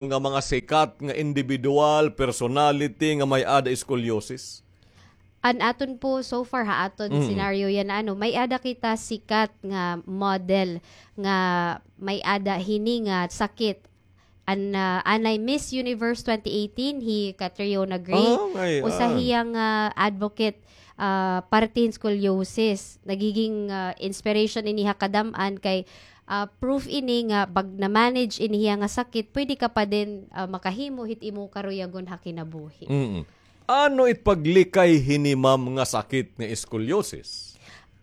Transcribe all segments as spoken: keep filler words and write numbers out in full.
nga mga sikat nga individual, personality nga may-ada scoliosis? An aton po, so far ha aton Mm. scenario yana, ano, may-ada kita sikat nga model nga may-ada hini nga sakit. An, ah, anay Miss Universe twenty eighteen, hi Catriona Gray. Ah, okay, Usa ah. hiya nga advocate, ah, parte hin scoliosis. Nagiging, ah, inspiration ini ha kadam-an kay, ah, proof ini nga pag na-manage ini hiya nga sakit, pwede ka pa din, ah, makahimo hit imo karuyagon ha kinabuhi. Mm. Ano it paglikay hini, ma'am, nga sakit nga scoliosis?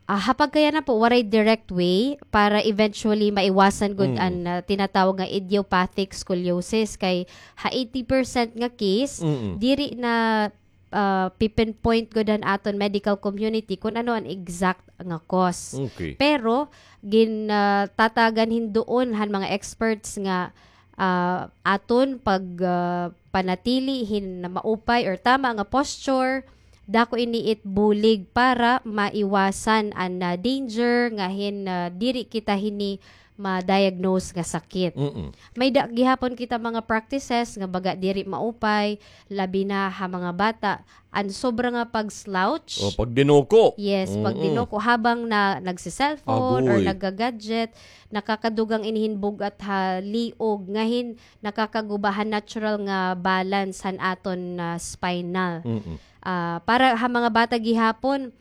Ah, ha pagkayana po, waray direct way para eventually maiwasan gud Mm. an, ah, tinatawag nga idiopathic scoliosis. Kay ha eighty percent nga case, Mm-mm. diri na, ah, pipinpoint gud han aton medical community kung ano an exact nga cause. Okay. Pero, gin, ah, tatagan hin duon han mga experts nga, ah, aton pag, ah, panatili hin maupay or tama nga posture, dako ini it bulig para maiwasan an, ah, danger nga hin, ah, diri kita hini ma-diagnose nga sakit. Mm-mm. May-ada gihapon kita mga practices nga baga diri maupay, labi na ha mga bata, an sobra nga pag-slouch. O, pagdinuko. Yes, Mm-mm. pagdinuko habang na nagse-cellphone or Agoy. nagga-gadget, nakakadugang ini hin bug-at ha liog, nga hin nakakaguba han natural nga balance han aton, ah, spinal. Mm-mm. Ah, para ha mga bata gihapon,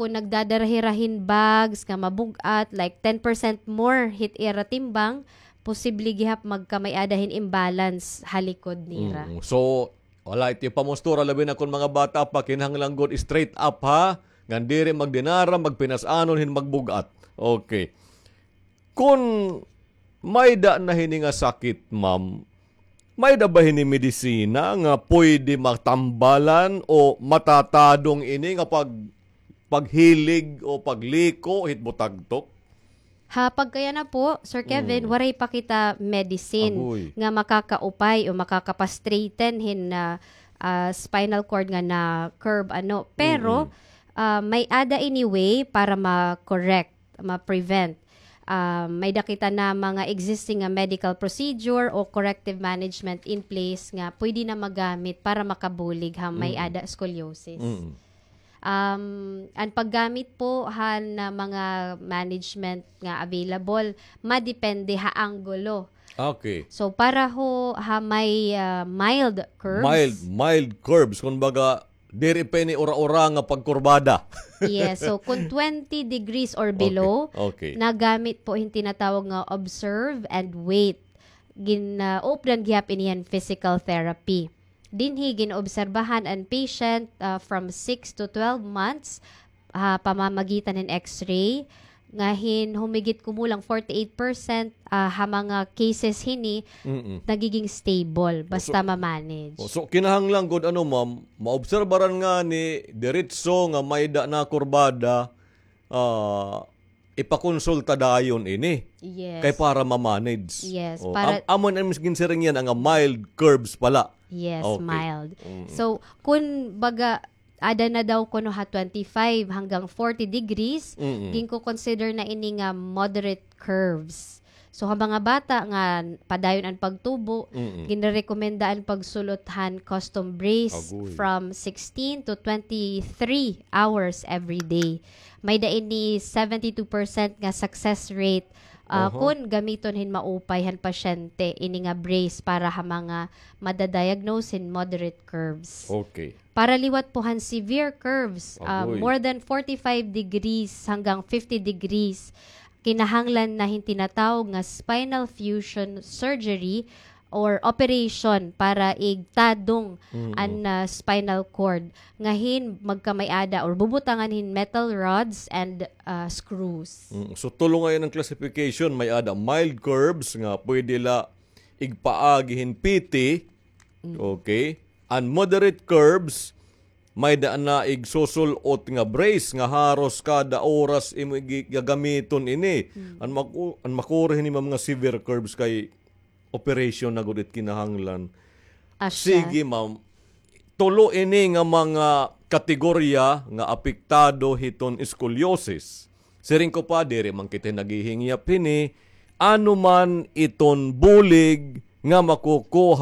kung nagdadara hira hin bags nga mabug-at, like ten percent more hit ira timbang, posible gihap magkamay-ada hin imbalance ha likod nira. Mm. So, wala iti pamustura, labi na kon mga bata pa, kinahanglan gud straight up, ha? Ngan diri magdinara, magpinas-anon hin magbug-at. Okay. Kon may-ada na hini nga sakit, ma'am, may-ada ba hini medisina nga pwede matambalan o matatadong ini nga pag-, paghilig o pagliko hit butagtok? Ha pagkayana po, Sir Kevin, Mm. waray pa kita medicine Agoy. nga makakaupay o makakapastraighten hin, ah, ah, spinal cord nga na-curve, ano. Pero, Mm-mm. ah, may-ada ini way para ma-correct, ma-prevent. Ah, may-ada kita na mga existing nga medical procedure o corrective management in place nga pwede na magamit para makabulig ha may Mm. ada scoliosis. Mm. Um, an paggamit po han, ah, mga management nga available, madepende ha anggulo. Okay. So, para ho ha may, ah, mild curves. Mild, mild curves. Kumbaga, diri pa ini ura-ura nga pagkurbada. Yes, so kung twenty degrees or below, Okay, okay. nagamit po hin tinatawag nga observe and wait. Gin, ah, updan gihap ini han physical therapy. Dinhi gin-obserbahan an patient, ah, from six to twelve months, ha pamamagitan hin X-ray. Nga hin humigit kumulang forty-eight percent, ah, ha mga cases hini, Mm-mm. nagiging stable, O, basta so, ma-manage. o, so, kinahanglan gud, ano, ma'am, maobserbaran ngani, diretso nga may-ada na kurbada, ah, ipakonsulta dayon ini. Yes. Kay para ma-manage. Yes, O, para am-, amo na miskin siring yana nga mild curves pala. Yes, Okay. mild. Mm. So, kun baga, ada na daw kuno ha twenty-five hanggang forty degrees, Mm-mm. ginko-consider na ini nga moderate curves. So, ha mga bata nga padayon an pagtubo, Mm-mm. ginrerekomenda an pagsul-ot han custom brace Agoy. from sixteen to twenty-three hours every day. May-ada ini seventy-two percent nga success rate, ah, Oho. kun gamiton hin maupay han pasyente ini nga brace para ha mga madadiagnose hin moderate curves. Okay. Para liwat po han severe curves, ah, Agoy. more than forty-five degrees hanggang fifty degrees, kinahanglan na hin tinatawag nga spinal fusion surgery or operation para igtadong Mm-mm. an, ah, spinal cord. Nga hin magkamay-ada or bubutangan hin metal rods and, ah, screws. Mm, so, tulo ngay-an an classification, may-ada mild curves nga pwede la igpaagi hin P T, Mm. Okay. An moderate curves, may-ada na igsusul-ot nga brace nga haros kada oras imo gi-, gagamiton ini. Mm. An maku-, an makuri hini, ma'am, nga severe curves kay operation na gud it kinahanglan. Asya. Sige, ma'am. Tulo ini nga mga kategorya nga apektado hiton scoliosis. Siring ko pa, diri man kita naghihingyap hini, ano man iton bulig nga makukuha